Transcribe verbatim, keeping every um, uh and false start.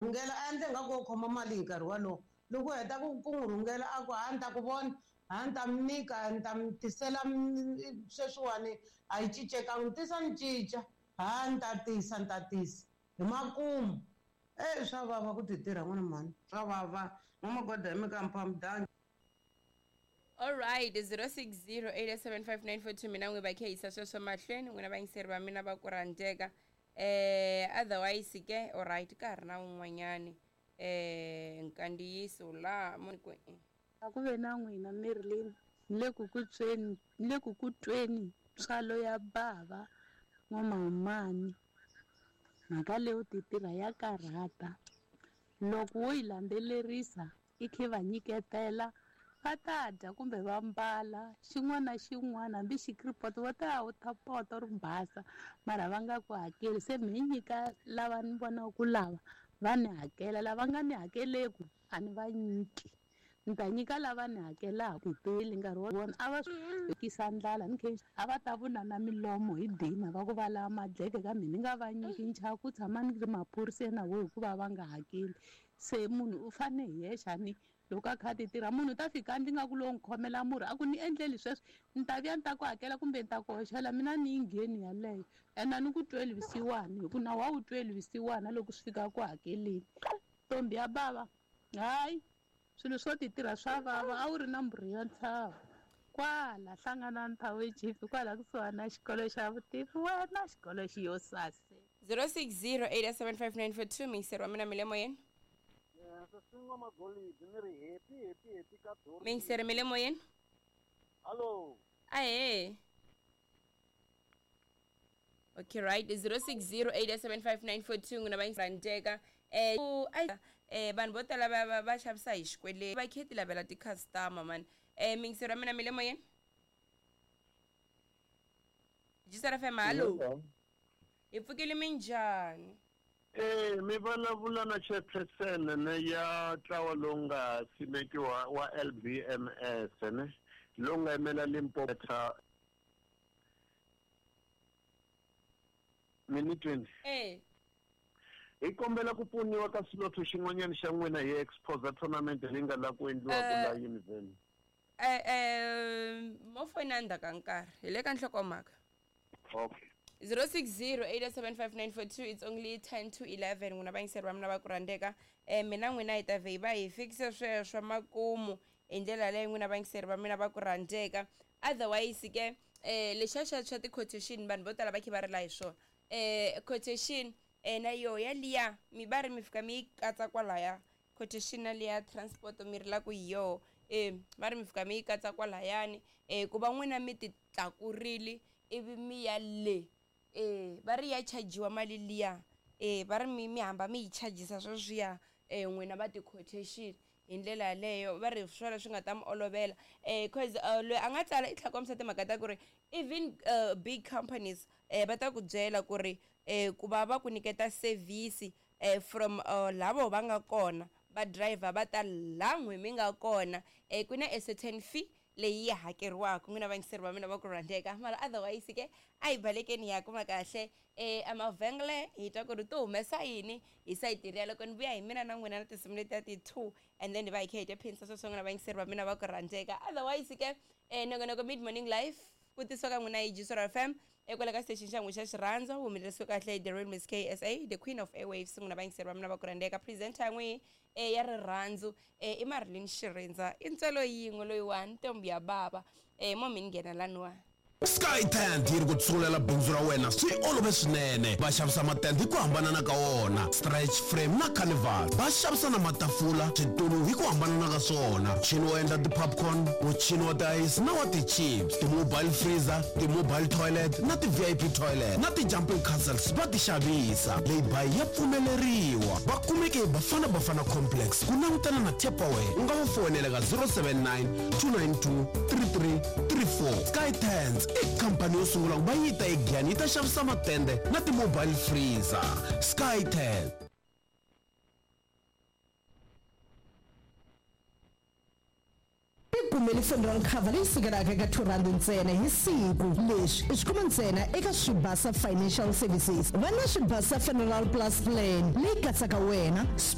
Rhungela a endle nga ku u khoma mali hi nkarhi wolowo loko u heta ku ku n'wi rhungela a ku ha ni ta ku vona ha ni ta mi nyika ni ta mi tisela sweswiwani a yi cincekanga tisa ni cinca ha ni ta tisa ni ta tisa hi makumu e swa vava ku ti tirha n'wana mhani swa vava n'wamagoda hi mikampha mudanga. Alright, zero six zero eight seven five nine four two mina n'wi va khehisa sweswo mahlweni n'wina vayingiseri va mina va ku rhandzeka. Eh otherwise ke alright ka ha ri na wun'wanyani eh nkandziyiso laha mo ku A ku ve na n'wina Marilyn ni le ku ku tweni ni le ku ku tweni ntswalo ya bava n'wamahumani mhaka leyo ti tirha ya karhata loko wo yi landzelerisa i khe va nyiketela va ta dya kumbe va mbala xin'wana na xin'wana hambi xikiripoto va ta wu ta poto ri basa mara va nga ku hakeli se mi nyika lava ni vonaka ku lava va ni hakela lava nga ni hakeleku a ni va nyiki ni ta nyika lava ni hakelaka hi nkarhi wa vona a va kisa ndlala ni khe a va ta vunana milomo hi dina va ku va lava madleke kambe ni nga va nyiki nchava ku tshama ni ri maphoriseni na vo hikuva va nga hakeli se munhu u fane hi yexe ni loko a kha a ti tirha munhu u ta fika ndzi nga ku lowu n'wi khomela murhi a ku ni endleli sweswo ni ta vuya ni ta ku hakela kumbe ni ta ku hoxela mina ni yi ngheni yaleyo ene a ni ku tweli vusiwana hi ku na wa wu tweli vusiwana loko swi fika ku hakeleni ntombi ya bava hayi swilo swo ti tirha swa vava a wu ri na mbhuri ya ntshava kwala hlangana nthawe chief kwala kusuhana na xikolo xa vutivi wena xikolo xi yo sase. zero six zero eight seven five nine four two miyingiseri wa mina mi le moyeni. Miyingiseri mi le moyeni. Hello. Ahee. Okay, right. zero six zero eight seven five nine four two n'wina va eh eh vanhu vo tala va va xavisa hi xikweleti va khe ti lavela ti-customer man. Eh miyingiseri wa mina mi le moyeni. Jisara F M, hallo. Hi pfukile minjhani? Eh mi vulavula na chairperson ne ya ntlawa lowu nga simekiwa wa L B M S ne lowu nga yimela Limpopo minute eh hi kombela ku pfuniwa ka swilotho xin'wanyana xa n'wina hi exposa tournament leyi nga la ku endliwa ku la Univen. Eh eh mo foyina ndzhaku ka nkarhi hi le ka nhlokomhaka. Okay. zero six zero eight seven five nine four two it's only ten to eleven n'wina vayingiseri va mina va ku rhandzeka eh mina n'wina hi ta vhe hi va hi fikise sweswo makumu hi ndlela leyi n'wina vayingiseri va mina va ku rhandzeka. Otherwise ke eh lexa xa xa ti-quotation vanhu vo tala va khe va rila hi swona eh quotation eh na yo ya liya mi va ri mi fika mi yi katsa kwalaya quotation na liya transport mi ri la ku hi yoho eh va ri mi fika mi yi katsa kwalayani eh ku va n'wina mi ti tlakurile ivi mi ya le eh va ri ya chajiwa mali liya eh va ri mi mi hamba mi yi chajisa sweswiya eh n'wina va ti-quotation hi ndlela yaleyo va ri swona swi nga ta mi olovela eh cause uh, loyi a nga tsala i tlhela kombisa timhaka ta ku ri even uh, big companies eh va ta ku byela ku ri eh ku va va ku nyiketa service eh from uh, lavo va nga kona va driver va ta la n'wi mi nga kona eh ku na a certain fee leyi yi hakeriwaka n'wina vayingiseri va mina va ku rhandzeka mara otherwise ke a hi balekeni ya kuma kahle eh emavhengele hi twa ku ri to humesa yini hi sayiti riya loko ni vuya hi mina na n'wina na tinsimu letiya ti-two and then hi va hi kha hi tya phinisa sweswo n'wina vayingiseri va mina va ku rhandzeka. Otherwise ke eh nongonoko mid morning life ku tisiwa ka n'wina hi Jisora F M ekwala ka station xa n'wina xa xirhandza humelerisiwe kahle hi the real Miss K S A the queen of airwaves n'wina vayingiseri va mina va ku rhandzeka presenter ya n'wina eh ya rirhandzu eh i Marilyn Xirindza i ntswelo yin'we loyiwani ntombi ya bava eh mo mi nghena laniwa. Sky Tent yi ri ku tsungulela bindzu ra wena swi olove swinene va xavisa matende hi ku hambanana ka wona stretch frame na carnival va xavisa na matafula switulu hi ku hambanana ka swona muchini wo endla ti-popcorn muchini wa ti-ice na wa ti-chips ti-mobile freezer ti-mobile toilet na ti-V I P toilet na ti-jumping castles va ti xavisa leyi ya pfumeleriwa va kumeke hi Bafana Bafana Complex ku langutana na Tupperware u nga va foyinela ka zero seven nine two nine two three three three four Sky Tent i khampani yo sungula ku va yi ta eGiyani yi ta xavisa matende na ti-mobile freezer. Sky Tent. Tikumeli funeral cover leyi sukelaka eka two rand ntsena hi siku. Leswi i swi kuma ntsena eka Swibasa Financial Services. Va na Swibasa Funeral Plus Plan leyi katsaka wena.